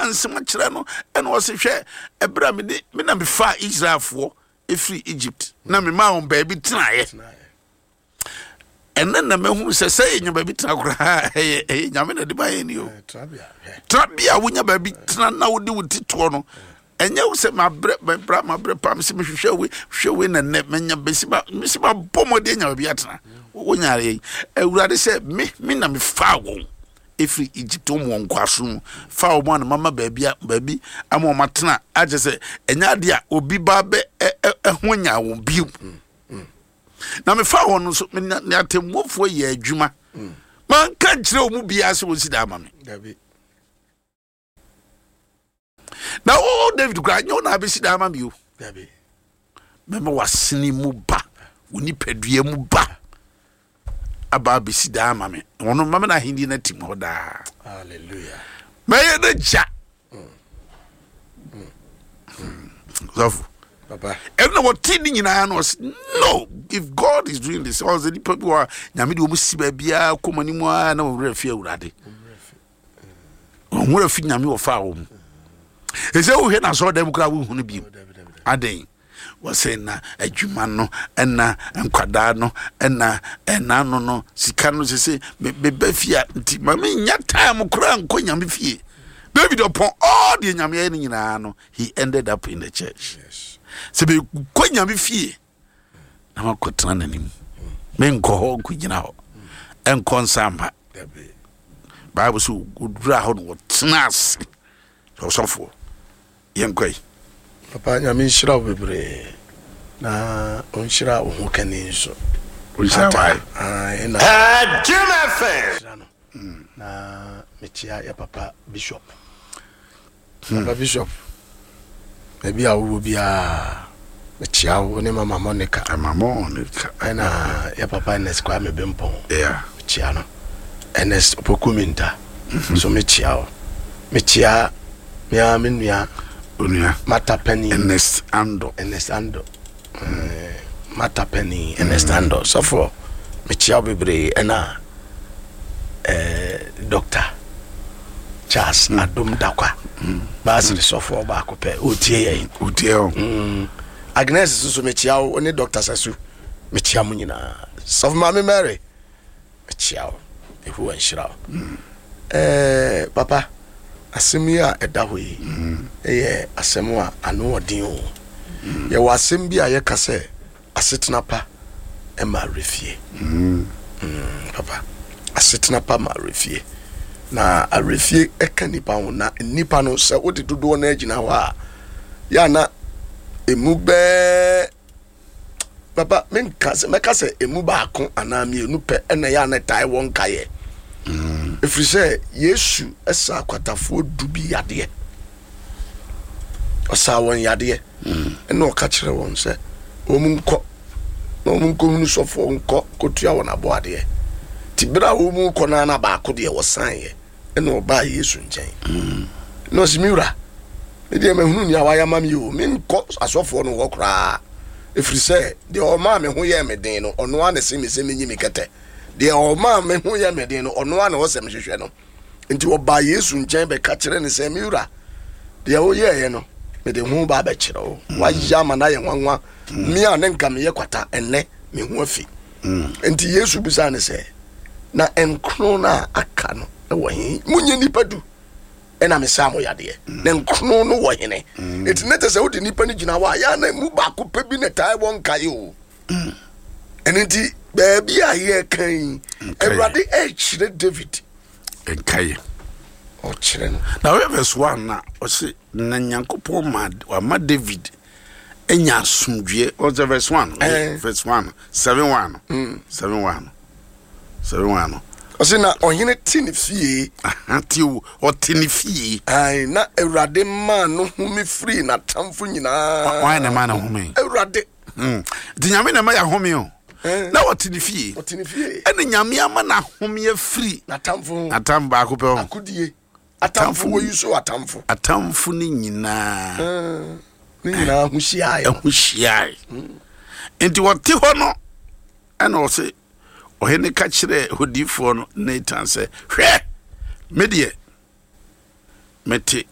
Ɔkeka nsɛm akyerɛ no, ɛna ɔse, hwɛ, ɛberɛ a mede me na mefaa Israelfoɔ ɛfiri Egypt na memaa wɔn baabi tenaeɛ. Ɛnɛ na mahu sɛ sɛ yɛnya baabi tena koraa, ɛyɛ Nyame na de ma yɛn ni o. Trabea a wonya baabi tena na wode wo ti toɔ no, ɛnyɛ wo sɛ mabrɛ mabrɛ mabrɛ paa, mesɛ mehwehwɛ wei hwehwɛ wei na nnɛ manya bɛsi ma mesi ma bɔ mmɔden anya baabi atena. Wonya yɛn Awurade sɛ me na mefaa wɔn ɛfiri Egypt, wɔn wɔ nkoasom mu, fa wɔn a na mama baabi a baabi ama wɔn atena, akyɛ sɛ ɛnyɛ adeɛ a obi ba bɛ ɛho nya wɔn bio. Na mefa wɔn nso ne atemmuofoɔ yɛ adwuma, manka nkyerɛ wɔn mu biara sɛ wɔnsi da ama me. Na wo David koraa, nyɛ wo na abɛsi da ama me o. Mɛma w'asene mu ba, wo nipadua mu ba aba abɛsi daa ama me. Ɔno mama no ahenni no atim hɔ daa. Mɛyɛ no gya sɔfo. Ɛno na wɔte ne nyinaa no, ɔse no, if God is doing this, ɔsɛ nipa bi wɔ a Nyame de wɔn si baabiara kɔ mu anim a na wɔn werɛ fi Awurade, wɔn werɛ fi Nyame wɔfaa wɔn mu. Ɛsɛ wohwɛ no asɔre dɛm koraa wohu no bio adɛn? Wɔsɛ na adwuma no ɛna nkwadaa no ɛna ɛna no sika no sese meba fie a, nti ma menya time koraa nkɔ Nyame fie. David ɔpɔn all deɛ Nyame ayɛ no nyinaa no, he ended up in the church. Sɛ mekɔ Nyame fie na makɔtena n'anim, menkɔ hɔ nkɔgyina hɔ ɛnkɔ nsa mma. Bible so wɔdura hɔ no, wɔtena ase ɔsɔfoɔ. Yɛnkɔ yi. Papa, Nyame nhyira wo bebree na ɔnhyira wo ho kani nso. Ɔnhyira wo ae. Ae, na Jim FM. Nhyira no. Na mekyia yɛ papa Bishop. Papa Bishop, baabi a wowɔ biara, mekyia wo ne Mama Monica. Mama Monica. Ɛna yɛ papa Ernest Kwame Bempɔn. Yeah. Mekyia no. Ernest Opoku Minta. So mekyia wo. Mekyia mea me nua Onua Mata Penny. Ernest Ando. Ernest Ando. Mata Penny, Ernest Ando. Sɔfo, mekyia wo bebree. Ɛna Dr. Charles Adom Dakwa. Baasiri sɔfo baako pɛ. Otie yɛn. Otie o. Agnes nso mekyia wo ne Dr. Sasu. Mekyia mo nyinaa. Sɔfo Maame Mary, mekyia wo. Yehowa nhyira wo. Papa, asɛm yi a ɛda hɔ yi ɛyɛ asɛm a ano ɔden o. Yɛwɔ asɛm bi a yɛka sɛ asetena pa ma awerɛfie. Papa, asetena pa ma awerɛfie. Na awerɛfie ɛka nipa ho, na nipa no sɛ wode dodoɔ no agyina hɔ a, yɛ na emu bɛɛ papa, menka sɛ mɛka sɛ emu baako anaa mmienu pɛ ɛna yɛ a na ɛtae wɔ nkaeɛ. Ɛfiri sɛ Yesu ɛsa akwatafoɔ 10 bi yadeɛ, ɔsaa wɔn yadeɛ, ɛna ɔka kyerɛ wɔn sɛ wɔn nkɔ na wɔn nkɔhunu sɔfoɔ nkɔ kɔtua wɔn aboadeɛ. Nti berɛ a wɔn kɔ no, na baako deɛ wɔsaeɛ, ɛna ɔbaa Yesu nkyɛn na ɔsi, "Me wura, me deɛ mahunu nea wayɛ ama me o, menkɔ asɔfoɔ no hɔ koraa, ɛfiri sɛ deɛ ɔmaa me ho yɛɛ me den no, ɔno ara na ɛse me sɛ menyi me kɛtɛ. Deɛ ɔmaa me ho yɛ me den no, ɔno ara na ɔsɛ mehwehwɛ no." Nti ɔbaa Yesu nkyɛn bɛka kyerɛ ne sɛ, "Me wura, deɛ woyɛeɛ no, mede ho ba abɛkyerɛ wo. Wayɛ ama no ayɛ nwanwa. Me a ne nka meyɛ kwata, ɛnnɛ me ho afi." Nti Yesu bisaa ne sɛ, "Na nkron no a aka no wɔ he? Monyɛ nnipa 10 ɛna mesaa mo yadeɛ, na nkron no wɔ hene?" Nti ne te sɛ wode nnipa no gyina hɔ a, yɛ na mu baako pɛ bi na ɛtae wɔ nkae o. Ɛno nti baabi a yɛka yi, Awurade ɛkyerɛ David nkaeɛ. Ɔkyerɛ no. Na wɔyɛ verse 1 na ɔse na Nyankopɔn ma wama David anya asomdwoeɛ. Ɔsɛ verse 1, verse 1 7 1 7 1 7 1 no. Ɔse na ɔhene te ne fie. Te o, ɔte ne fie. Ae, na Awurade maa no home firii n'atamfo nyinaa. Wan na ɛma no home? Awurade. Nti Nyame na ɛma yɛ ahome o. Na ɔte ne fie. Ɔte ne fie. Ɛna Nyame ama no ahome afiri n'atamfo ho. N'atamfo baako pɛ ho. Akodie. Atamfo wɔ yi so atamfo. Atamfo ne nyinaa. Ne nyinaa ho hyiae. Ho hyiae. Nti wɔte hɔ no, ɛna ɔse ɔhene ka kyerɛɛ odiyifoɔ no Nathan sɛ, "Hwɛ, me deɛ mete